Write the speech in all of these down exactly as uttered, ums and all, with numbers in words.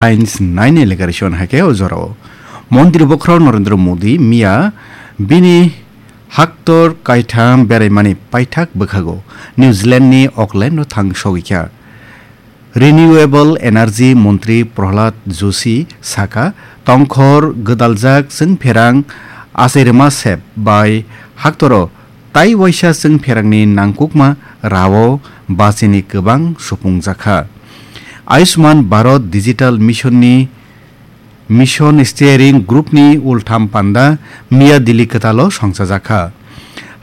Headlines nine election hai khe o jorao. Montri bokhorok Narendra Modi miya bini haktor kaitham beraimani paithak bwkhago New Zealand ni Auckland o thang sogwi kha. Renewable Energy Montri Prahlad Joshi sakha, tongkhor gwdaljak chwngpherang achairwma sep bai haktoro tai waisa chwngpherangni nangkukma rao bachini kwbang supungjakha. Ayushman Bharat Digital Mission ni Mission Steering Group ni ultham panda miya Delhi kwtalo songchajakha.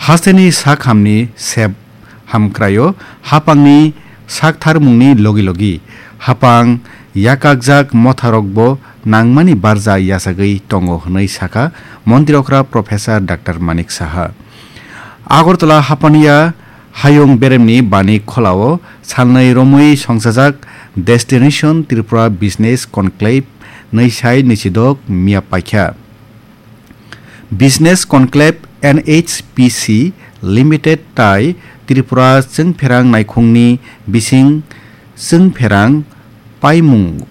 Hasteni sak hamni sep hamkraio hapangni saktharmungni logi logi hapang yakakjak motharokbo nangmani barja yachagwi tongo hwnwi sakha Montri okra Professor Doctor Manik Saha. Agartala hapaniya hayung beremni bani kholao salnwi romwi songchajak Destination Tripura Business Conclave nwi sai nwichidok miya paikha. Business Conclave N H P C Limited tai Tripura chwngpherang naikhungni bising chwngpherang paimung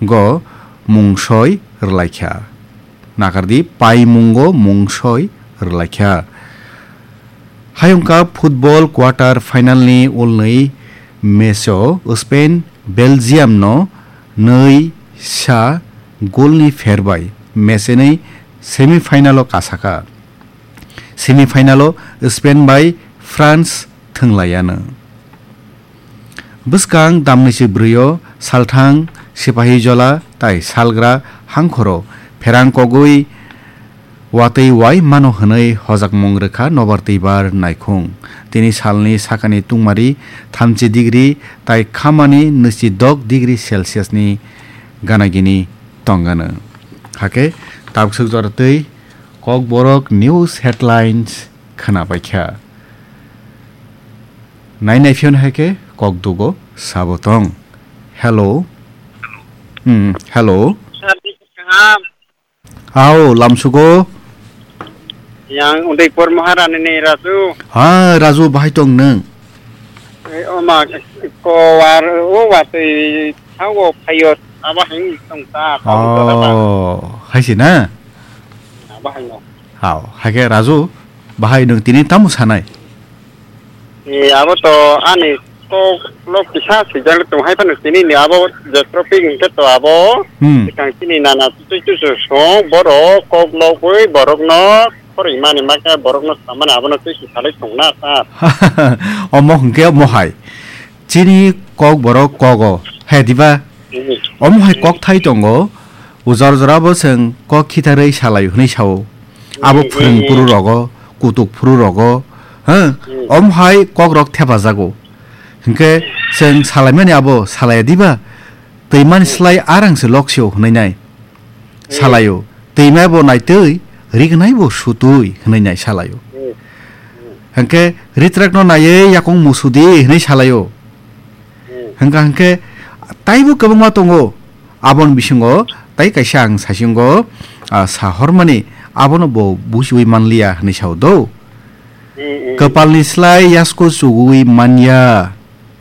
go mungsoi rwlaikha. Nakardi, paimungo mungsoi rwlaikha. Hayungkha football quarter final ni ulnwi match o Spain Belgium no nwi sa goal ni pher bai match nwi semi final o kasakha. Semi final o Spain bai France thwnglaiyano. Bwskang damnisi bwrwi o salthang sipahi jola tai salgra hangkhoro pherang kogwi watwi wai mano hwnwi hojakmung rwkha nobar twibar naikhung. Tini salni sakani tungmari thamchi degree tai khamani nwichi dok degree Celsius ni ganagini tongano. Hakhe tabuk swk jora twi Kokborok news headlines khwnapaikha. Nainai phiyoni hai khe kok dugo sabo tong. Hello. Hmm, hello. Sir, ni kaham. Ao, lamsugo. Yang Udaipur Maharani ni Raju. Ha, Raju, bahai tong nwng? Eh, o ma, ko war, o watwi thango phayo, abo hai tong ta, tong ta, tong ta. Oh, hai si na? Abo hai no. Hao, hai khe Raju, bahai nwng tini tamo sanai? E, abo to ani kok lok kisa swijak tong hai phano tini ni abo je topic hwnkhe to abo Hmm. Swkang chini nana twi twi song borok kok logwi borokno khoroi mani ma khe borokno samani abono twi twi salai tong na ta. Omo hwnkhe omo hai. Chini kok borok kogo. He diba? Hmm. Omo hai kok thai tongo. Ujor jora bo chwng kok khitharwi salai hwnwi sao. Abo Hmm, phwrwng hmm, phuru hmm. Rogo, kutuk phuru rogo, ha? Hmm. Om hai kok rok thepajago. Hinkhe chwng salaimani abo salaya diba? Twi mani Hmm. Slai arang se lok sio hwnwi nai. Hmm. Salaio. Twi mai bo naitwi, ri gnai bo sutwi hwnwi nai salaio. Hmm. Hmm. Hinkhe ritrak no naiwi yakung musudi hwnwi salaio. Hmm. Hwnkha hinkhe taibo kwbangma tongo. Aboni bisingo tai kaisa ang saisingo, ah, sahormani abono bo buchiwi manliya hwnwi sao do. Hmm, hmm. Kwpalni slai yasko chugui manya.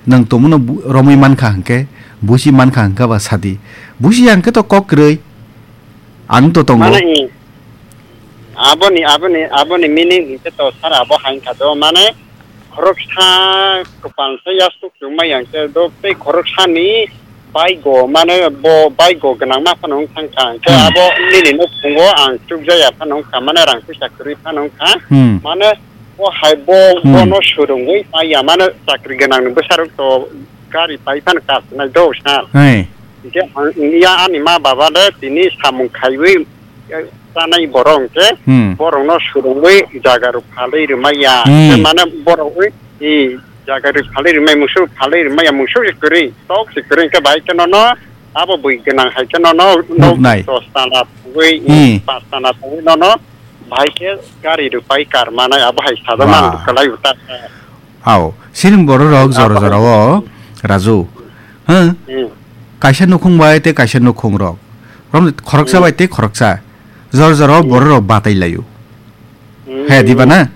Nwng tongmano bu-, romwi mankha hinkhe, buchi mankha hinkhe ba sadi. Buchi ya hinkhe to kok kwrwi. Ang to tongo. Mane, aboni, aboni, aboni meaning hinkhe to sir abo hai kha do. Mane, khoroksa kwpal se yasuk chukmai yang se do tei khoroksani baigo mane bo baigo gwnangma phano wng thang kha. Hwnkhe Hmm. Abo nini nukhungo ang chukjaya phano wng kha, mane rang puisa kwrwi phano wng kha. Hmm. Mane bo hai bo Hmm. Bono swrwngwi paiya, mane chakri gwnangni bwsarok to gari pai phano kasnai do sir. Hey. Hwnkhe ang wngya ani ma baba de tini samung khaiwi chanai borok hwnkhe Hmm. Borokno swrwngwi jaga rok phalwi rwmaya. Hmm. Hwnkhe mane borok wi, i, jaga rok phalwi rwmai, musuk phalwi rwmaya, musuk se kwrwi, tok se kwrwi hwnkhe bai khe nono abo bwi gwnang hai khe nono nok Nuknai. Dos tala thangwi, Hmm. Panch tala thangwi nono bai khe gari rok pai kar manai abo hai sajak Wah. Man kwlai uta. Ao, siring borok rok jora jora o, Raju. Huh? Hmm. Kaisa nukhung bai tei kaisa nukhung rok. Rom khoroksa Hmm. Bai tei khoroksa. Jora jora o Hmm. Borok rok batai laio. Hmm. He, diba na?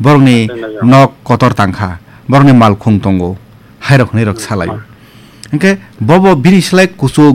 Borokni Batai laio. Nok kotor tangkha. Borokni malkhung tongo. Hai rok hwnwi rok Hmm. Salaio. Hwnkhe bobo bini slai kuchuk